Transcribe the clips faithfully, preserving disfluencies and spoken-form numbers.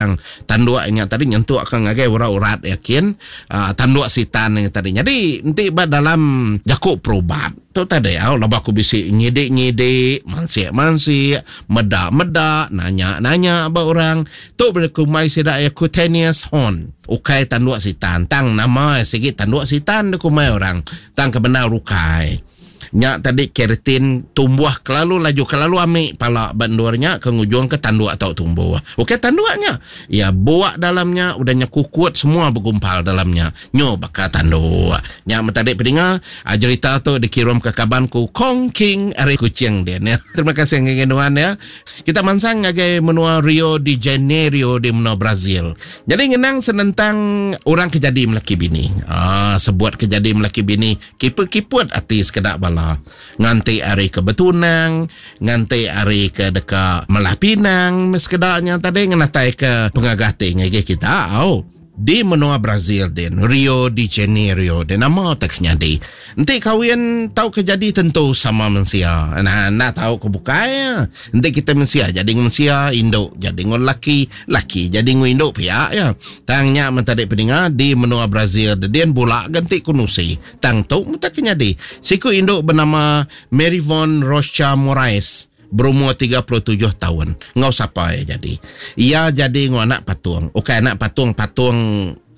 Tang tanduk nya tadi nyentuk ke ngagai urat-urat yakin uh, tanduk sitan nya tadi. Jadi enti ba dalam jaku perubat tu tadi au laba aku bisi nyidik-nyidik, mansik-mansik, meda-meda, nanya-nanya ba orang tu kumbai sida ya cutaneous horn. Ukai tanduk sitan, tang nama sigi tanduk sitan kumbai orang. Tang kebenar ukai. Nya tadi keratin tumbuh kelalu laju, kelalu amik pala bandurnya ke ngujung ke tanduk atau tumbuh. Okey tanduknya. Ya buak dalamnya udahnya kukut semua bergumpal dalamnya. Nyo bakal tanduk. Nya tadi peninga cerita tu dikirim ke kabanku Kong King ari Kuching dia ya. Terima kasih ngagai nuan ya. Kita mansang ngagai menua Rio de Janeiro di menua Brazil. Jadi ngenang senentang orang kejadi melaki bini. Ah sebuat kejadi melaki bini kiput-kiput ati sekedak bala. Nganti hari ke betunang, nganti hari ke deka melah pinang sekedaknya tadi ngenatai ke pengagati ngagai kita. Oh, di menua Brazil din, Rio de Janeiro din nama tak nyadi. Enti kawin tau kejadi tentu sama mensia. Nah, nak tahu ke bukai ya. Enti kita mensia jadi mensia, induk jadi ngon laki, laki jadi ngon induk pihak ya. Tangnya mentadi peninga di menua Brazil din bulak ganti kunusi. Tang tu tak kenyadi. Siku induk bernama Maryvonne Rocha Moraes berumur tiga puluh tujuh tahun. Ngau siapa ya jadi? Ia jadi ngau anak patung. Okey anak patung-patung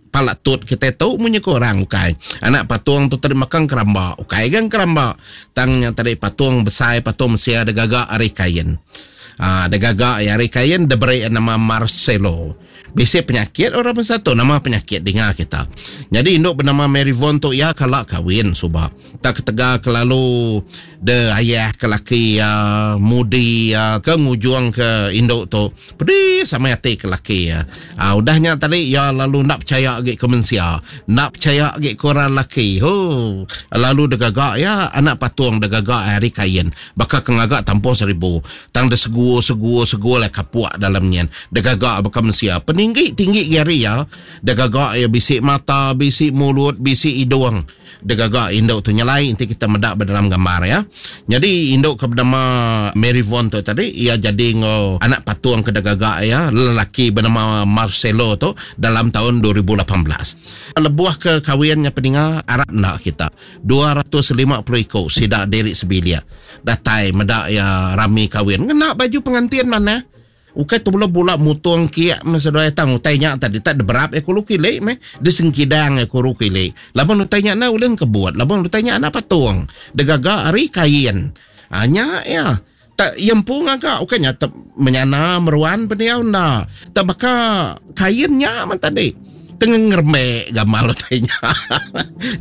palak tut kita tu munyi ko orang ukai. Anak patung tu tadi makan keramba. Ukai kan keramba. Tangnya tadi patung besar, patung mesia ada gagak ari kain. Ah, ada gagak ari kain diberi nama Marcelo. Bisi penyakit orang bersatu nama penyakit dengar kita. Jadi induk bernama Maryvonne tu ya kalak kahwin subak. Tak ketegal kelalu de ayah ke laki ya mudi ya ke ngujung ke induk tu. Pedih sama hati ke laki ya. Ah udahnya tadi ya lalu nak percaya lagi ke mensia, nak percaya lagi ke orang laki. Ho, lalu degagak ya anak patung degagak hari kain. Bakal kengagak tampung seribu. Tang de segu segu segu lah kapuak dalamnya. Degagak bakal mensia. Peninggi tinggi gari ya. Degagak ya bisik mata, bisik mulut, bisik hidung. Degagak induk tu nyelai nanti kita medak dalam gambar ya. Jadi induk ke bernama Maryvonne tu tadi ia jadi ngo anak patung ke degagak ya lelaki bernama Marcelo tu dalam tahun dua ribu lapan belas. Lebuh ke kawinnya peninga Arab nak kita dua ratus lima puluh ikut sidak diri sebilia datai medak ya rami kawin ngena baju pengantin mana. Ukai tu bula-bula mutung kiak masa dua tang utainya tadi tak deberap e kulu kile me disengkidang e kulu kile. Laban utainya na uleng kebuat, laban utainya na patung. Degaga ari kain. Anya ya. Tak yempu ngagak ukainya te menyana meruan beliau nda. Tak baka kainnya man tadi. Tengah ngermek gamal utainya.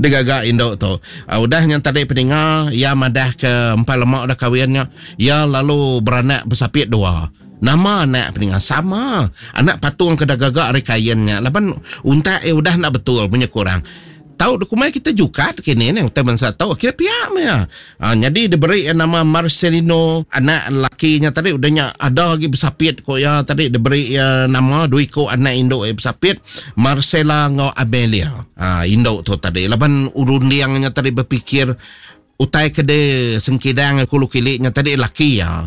Degaga induk tu. Uh, udah yang tadi peninga ya madah ke empat lemak dah kawinnya. Ya lalu beranak bersapit dua. Nama anak peninga sama. Anak patung ke gagak ari kainnya. Laban untak eh udah nak betul punya kurang. Tahu dokumen kita jukat kini ni utai bangsa tahu kira pihak ya. Ha, jadi diberi nama Marcelino anak lakinya tadi udahnya ada lagi bersapit kok ya tadi diberi ya, nama dua ikut anak induk eh, bersapit Marcela ngau Amelia. Ha, induk tu tadi laban urundiangnya tadi berfikir utai kede sengkidang kulu kiliknya tadi laki ya.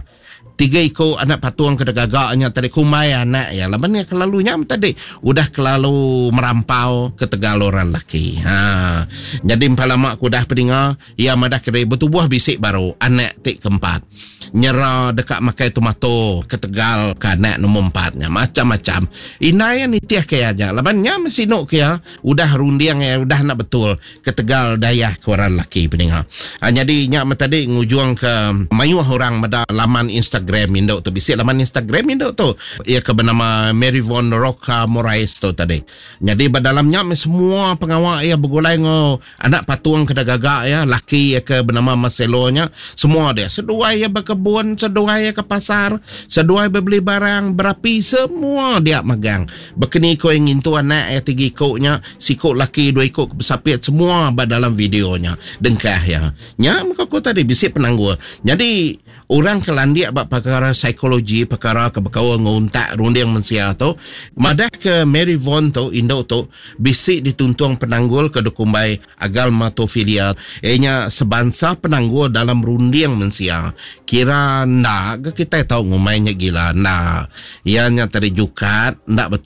Tiga ikut anak patung ke gagaknya tadi kumai anak ya. Laban ni kelalu nyam tadi udah kelalu merampau ke tegal orang laki. Ha. Jadi empat lama aku dah peninga ia madah kena bertubuh bisik baru anak tik keempat. Nyera dekat makai tomato ke tegal ke anak nombor empatnya macam-macam. Inai yang nitiah ke aja. Laban nyam sinuk ke ya udah rundiang ya udah nak betul ke tegal dayah ke orang laki peninga. Ha, jadi nyak tadi ngujung ke mayuh orang meda laman Instagram Induk tu bisik laman Instagram induk tu ia ke bernama Maryvonne Rocha Moraes tu tadi. Jadi dalamnya semua pengawal ia bergulai ngo anak patung ke gagak ya laki ia ke bernama Marcelo nya semua dia seduai ia berkebun seduai ia ke pasar seduai berbeli barang berapi semua dia magang. Berkeni ko yang ngintu anak ia tiga ikutnya sikut laki dua ikut besapit semua dalam videonya dengkah ya. Nya muka ko tadi bisik penanggul. Jadi orang kelandia bab perkara psikologi, perkara kebekawan nguntak runding mensia tu, madah ke Maryvonne tu induk tu bisik dituntung penanggul ke dukumbai agalmatofilia. Ianya sebansa penanggul dalam runding mensia. Kira ndak ke kita tahu ngumainya gila ndak. Ianya tadi jukat ndak betul